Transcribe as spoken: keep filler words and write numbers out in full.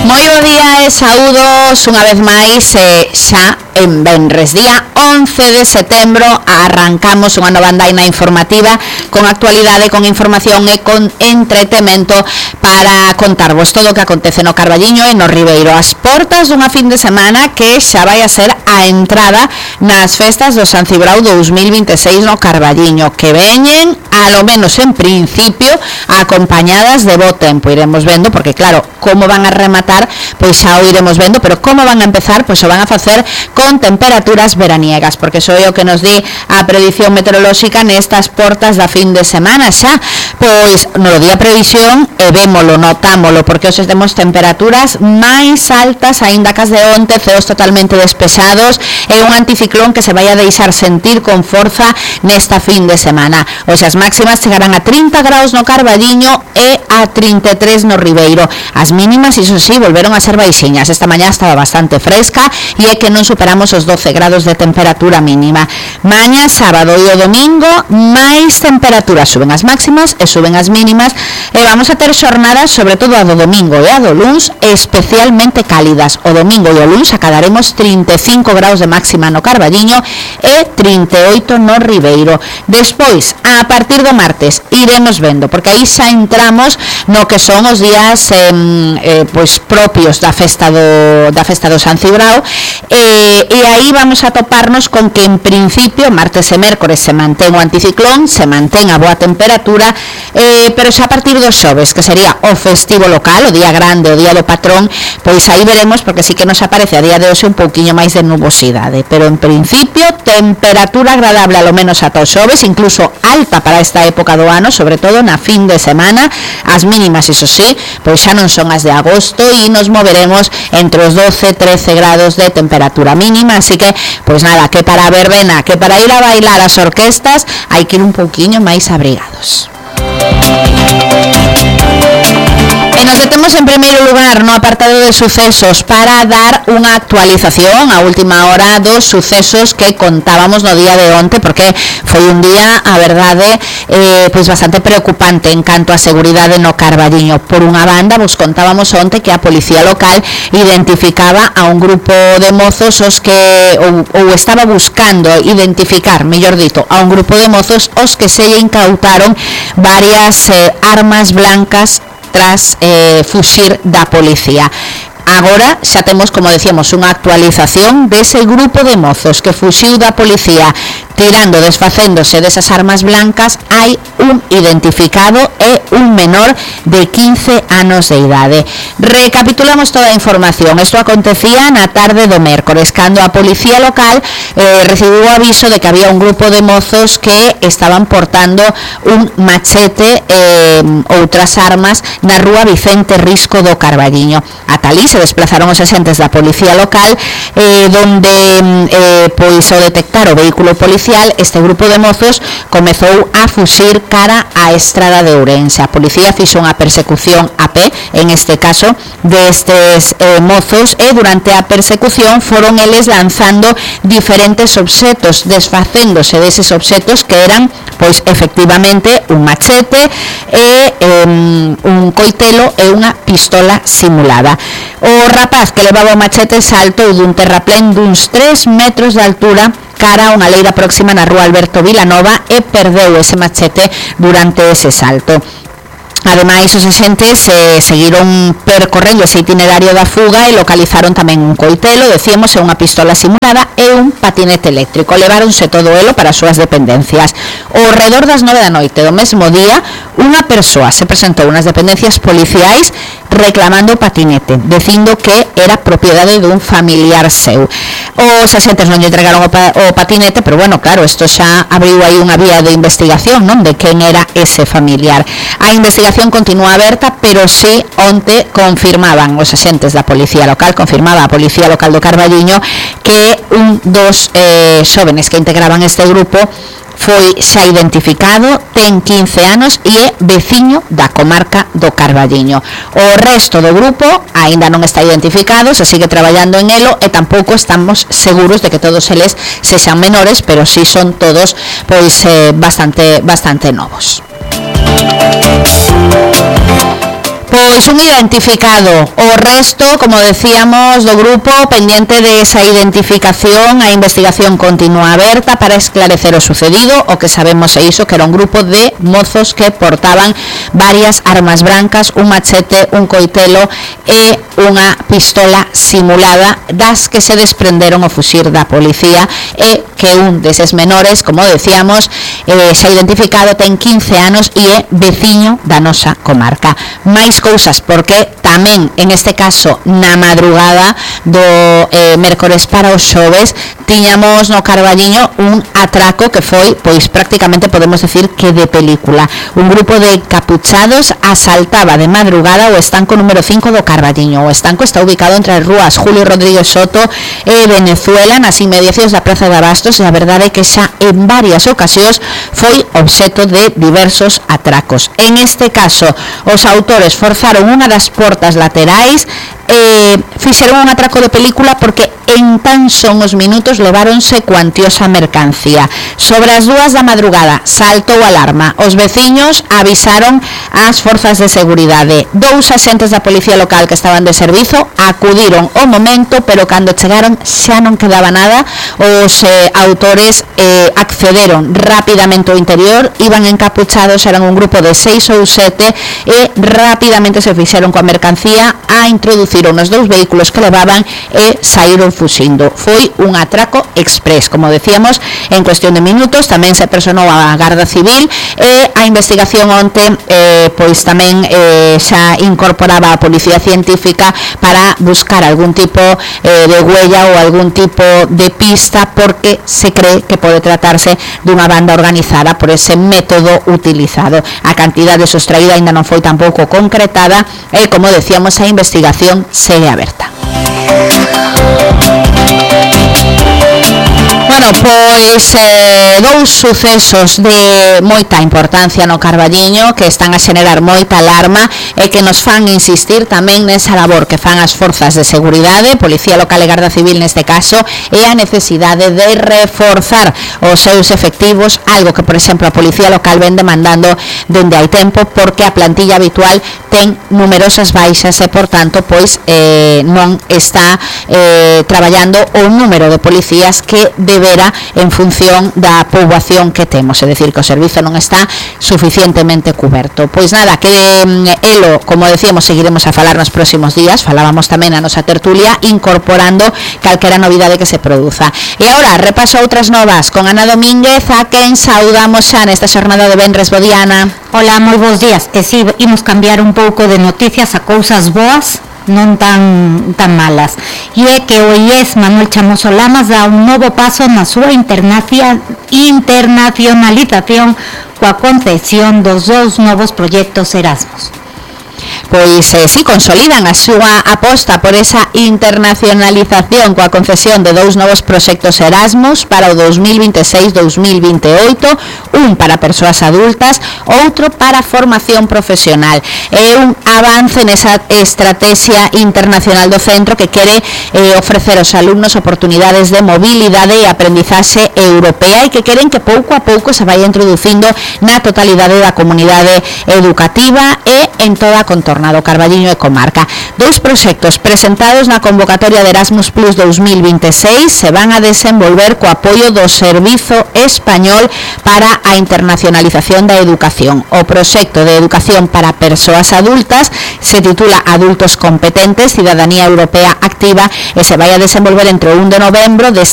Moi bo día e saúdos unha vez máis eh, xa en venres, día once de setembro, arrancamos unha nova andaina informativa con actualidade, con información e con entretemento para contarvos todo o que acontece no Carballiño e no Ribeiro, as portas dunha fin de semana que xa vai a ser a entrada nas festas do San Cibrao dous mil vinte e seis no Carballiño, que veñen, alo menos en principio, acompañadas de bo tempo. Iremos vendo, porque claro, como van a rematar, pois xa o iremos vendo, pero como van a empezar, pois o van a facer con temperaturas veraniegas, porque iso é o que nos di a predición meteorolóxica nestas portas da fin de semana xa. Pois no día previsión e vémolo, notámolo, porque hoxe temos temperaturas máis altas aínda que as de onte, ceos totalmente despejados e un anticiclón que se vai a deixar sentir con forza nesta fin de semana. Hoxe as máximas chegarán a trinta graus no Carballiño e a trinta e tres no Ribeiro. As mínimas, iso sí, volveron a ser baixiñas. Esta mañá estaba bastante fresca e é que non superamos os doce grados de temperatura mínima. Mañá, sábado e o domingo, máis temperaturas, suben as máximas e suben as mínimas, e vamos a ter xornadas, sobre todo a do domingo e a do luns, especialmente cálidas. O domingo e o luns acadaremos trinta e cinco graus de máxima no Carballiño e trinta e oito no Ribeiro. Despois, a partir do martes, iremos vendo, porque aí xa entramos no que son os días eh, eh, pois propios da festa do, da festa do San Cibrao, eh, e aí vamos a toparnos con que en principio martes e mércores se mantén o anticiclón, se mantén a boa temperatura, eh, pero xa a partir dos xoves, que sería o festivo local, o día grande, o día do patrón, pois aí veremos, porque sí que nos aparece a día de hoxe un pouquiño máis de nubosidade, pero en principio temperatura agradable alo menos ata os xoves, incluso alta para esta época do ano, sobre todo na fin de semana. As mínimas, iso sí, pois xa non son as de agosto e nos moveremos entre os doce e trece grados de temperatura mínima, así que, pois nada, que para a verbena, que para ir a bailar as orquestas, hai que ir un pouquiño máis abrigados. E nos detemos en primeiro lugar no apartado de sucesos para dar unha actualización a última hora dos sucesos que contábamos no día de onte, porque foi un día, a verdade, eh, pois bastante preocupante en canto a seguridade no Carballiño. Por unha banda, vos contábamos onte que a policía local identificaba a un grupo de mozos os que, ou, ou estaba buscando identificar, mellor dito, a un grupo de mozos os que se incautaron varias eh, armas blancas tras eh, fuxir da policía. Agora xa temos, como decíamos, unha actualización dese grupo de mozos que fuxiu da policía tirando, desfacéndose desas armas blancas. Hai un identificado e un menor de quince anos de idade. Recapitulamos toda a información. Isto acontecía na tarde do mércores, cando a policía local eh, recibiu o aviso de que había un grupo de mozos que estaban portando un machete e eh, outras armas na rúa Vicente Risco do Carballiño. A talí se desplazaron os axentes da policía local, eh, donde eh, pois ao detectar o vehículo policial, este grupo de mozos comezou a fuxir cara á estrada de Ourense. A policía fixo unha persecución a pé, en este caso, destes eh, mozos, e durante a persecución foron eles lanzando diferentes obxetos, desfacéndose deses obxetos que eran, pois, efectivamente, un machete e eh, un coitelo e unha pistola simulada. O rapaz que levaba o machete saltou dun terraplén duns tres metros de altura cara a unha leira próxima na rúa Alberto Vilanova e perdeu ese machete durante ese salto. Ademais, os axentes eh, seguiron percorrendo ese itinerario da fuga e localizaron tamén un coitelo, decíamos, e unha pistola simulada e un patinete eléctrico. Leváronse todo elo para as súas dependencias. Ao redor das nove da noite do mesmo día, unha persoa se presentou nas dependencias policiais reclamando o patinete, dicindo que era propiedade dun familiar seu. Os axentes non lle entregaron o, pa, o patinete, pero bueno, claro, isto xa abriu aí unha vía de investigación, non, de quen era ese familiar. A investigación continúa aberta, pero sí, onte confirmaban os axentes da policía local, confirmaba a policía local do Carballiño, que un dos eh, xóvenes que integraban este grupo foi xa identificado, ten quince anos e é veciño da comarca do Carballiño. O resto do grupo aínda non está identificado, se sigue traballando en elo e tampouco estamos seguros de que todos eles sexan menores, pero sí son todos pois eh, bastante bastante novos. Pois un identificado, o resto, como decíamos, do grupo pendiente de esa identificación. A investigación continúa aberta para esclarecer o sucedido. O que sabemos é iso, que era un grupo de mozos que portaban varias armas brancas, un machete, un coitelo e unha pistola simulada, das que se desprenderon o fuxir da policía, e que un deses menores, como decíamos, eh, xa identificado, ten quince anos e é veciño da nosa comarca. Mais cousas, porque tamén, en este caso, na madrugada do eh, mércores para os xoves, tiñamos no Carballiño un atraco que foi, pois prácticamente podemos decir que de película. Un grupo de capuchados asaltaba de madrugada o estanco número cinco do Carballiño. O estanco está ubicado entre as rúas Julio Rodríguez Soto e Venezuela, nas inmediacións da Praza de Abastos, e a verdade é que xa en varias ocasións foi obxeto de diversos atracos. En este caso, os autores forzaron unha das portas laterais, eh, fixeron un atraco de película porque en tan son os minutos leváronse cuantiosa mercancía. Sobre as dúas da madrugada saltou alarma. Os veciños avisaron ás forzas de seguridade. Dous axentes da policía local que estaban de servizo acudiron ao momento, pero cando chegaron xa non quedaba nada. Os eh, autores eh, accederon rapidamente ao interior, iban encapuchados, eran un grupo de seis ou sete, e rapidamente se fixeron coa mercancía, a introduciron nos dous vehículos que levaban e saíron fuxindo. Foi un atraco express, como decíamos, en cuestión de minutos. Tamén se personou a Garda Civil, e a investigación onte eh, pois tamén eh, xa incorporaba a Policía Científica para buscar algún tipo eh, de huella ou algún tipo de pista, porque se cree que pode tratarse dunha banda organizada por ese método utilizado. A cantidade sostraída ainda non foi tampouco concretada, e como decíamos, a investigación segue aberta. Bueno, pois eh, dous sucesos de moita importancia no Carballiño que están a xenerar moita alarma e que nos fan insistir tamén nesa labor que fan as forzas de seguridade, Policía Local e Garda Civil neste caso, e a necesidade de reforzar os seus efectivos, algo que, por exemplo, a Policía Local ven demandando dende hai tempo, porque a plantilla habitual ten numerosas baixas e, por tanto, pois eh, non está eh, traballando o número de policías que debera en función da poboación que temos, é dicir, que o servizo non está suficientemente cuberto. Pois nada, que eh, elo, como decíamos, seguiremos a falar nos próximos días. Falábamos tamén a nosa tertulia, incorporando calquera novidade que se produza. E agora, repaso outras novas con Ana Domínguez, a quen saudamos xa nesta xornada de venres. Bo día, Ana. Hola, moi bons días. E si, imos cambiar un pouco de noticias a cousas boas, non tan tan malas. E é que o I E S Manuel Chamoso Lamas dá un novo paso na súa internacionalización coa concesión dos dous novos proxectos Erasmus. Pois eh, si consolidan a súa aposta por esa internacionalización coa concesión de dous novos proxectos Erasmus para o dos mil vinte e seis dos mil vinte e oito, un para persoas adultas, outro para formación profesional. É un avance nesa estrategia internacional do centro que quere eh, ofrecer aos alumnos oportunidades de mobilidade e aprendizaxe europea, e que queren que pouco a pouco se vaya introducindo na totalidade da comunidade educativa e en toda a contorna do Carballiño e comarca. Dous proxectos presentados na convocatoria de Erasmus Plus dos mil vinte e seis se van a desenvolver co apoio do Servizo Español para a Internacionalización da Educación. O proxecto de educación para persoas adultas se titula Adultos Competentes, Cidadanía Europea Activa, e se vai a desenvolver entre o un de novembro deste